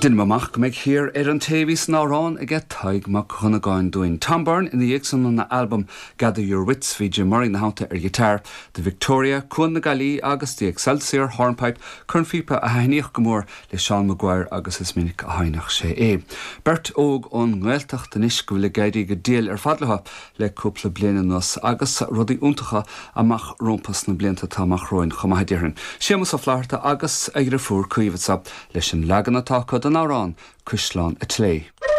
Deinim amach go mbeidh thiar ar an té a bhí san amhrán aige Tadhg Mac Dhonnagáin dúinn. Tom Byrne ina dhiaidh san óna albam Gather Your Wits bhí Jim Murray ina theannta ar ghiotár, The Victoria, Cuan na Gaillí agus The Excelsior Hornpipe, cornphíopa a thaitníodh go mór le Seán Maguire agus is minic a sheinneadh sé é. Beirt óg ón nGaeltacht anois go bhfuil ag éirí go diail ar fad leo le cúpla bliain anuas agus rudaí iontacha amach rompu sna blianta atá amach romhainn chomh maith a déarfainn. Séamus Ó Flaithearta agus a dhriofúr Caoimhe anseo leis an leagan atá acu den amhrán Cuisleán a' tSléibhe.